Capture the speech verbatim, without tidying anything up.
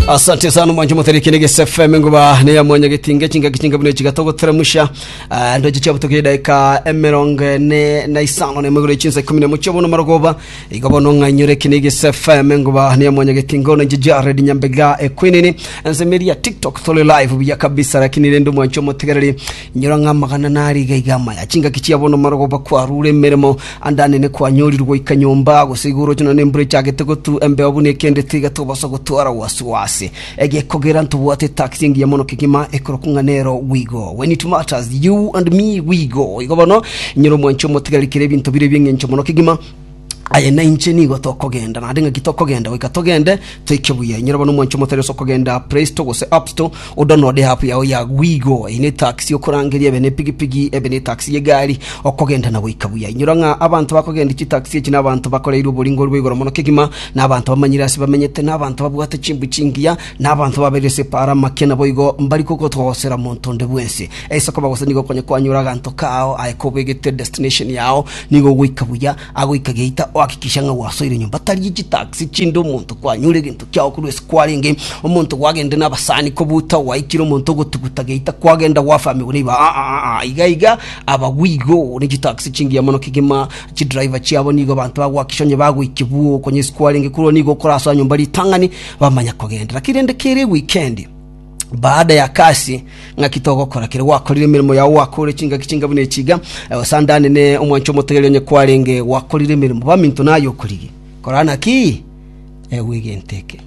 Asante sana mwancho muthariki ni Gese F M nguba ne ya mwanya gitinge chinga kichinga bune chigatogoteramusha ndoje chabutoke dakika emirongo ene na isano ne mugure chinsa ikumi na mucho bono marogoba igo bono ng'anyure kini Gese F M nguba ne ya mwanya gitingo na Jared Nyambega ekwinini nsemeria TikTok tole live buya kabisa. Lakini rendo mwancho mutigarari nyora ng'amagana nari gaigama ya chinga kichia bono marogoba kwarure emirimo andane ne kwanyorirwa ikanyomba gose igoro chino nembure chagete gotu embeo bune kende tiga tobasa gotwara wasiwasi egekogera ntubwate taxi ngiya mono kigima ekoro we go. When it matters, you and me, we go. Igo bono nyoro mwancho mutigarikire ebinto bire byeng'encho mono kigima aye na inche nigo tokogenda naende ng'aki tokogenda goika togende toike buya. Nyoro bono mwancho motari ase okogenda Play Store gose App Store, odownload app yao ya Wigo. Eye ne taxi okorangeria, ebe ne pigipigi, ebe ne taxi y'egari okogenda na goika buya. Inyora ng'a abanto bakogenda chitaxi echi na abanto bakoreirwe oboringo bwa igoro mono kegima, na abanto bamanyire ase bamenyete, na abanto babwate chimbu chingiya, na abanto baberire ase para make, nabo igo mbari kogotogosera monto onde bwensi ase koba gose nigo okonya kwanyora aganto kao aye kobegete destination yao nigo ogoika buya agoika geita ohakikisha ng'a gwasoire nyomba tari chitaxi chinde omonto kwanyure egento kiao korwa ase kwarenge omonto gwagende na abasani kobuta waikire omonto ogotuguta geita kwagenda gwafamiwa niba ah, ah, ah, iga iga aba Wigo ni chitaxi chingiya mono kegima. Chidriver chiabo nigo abanto bagwakisha onye bagoikia buo konya ase kwarenge korwa nigo okorasoa nyomba ritang'ani bamanya kogenda. Lakini rende kere weekend baada ya kasi ng'aki togokora kere gwakorire emirimo yao wakore chingaki chinga buna echiga osandane ne omwancho omotegeria onye kwarenge gwakorire emirimo baminto naye okorigi kora naki egwegente eke.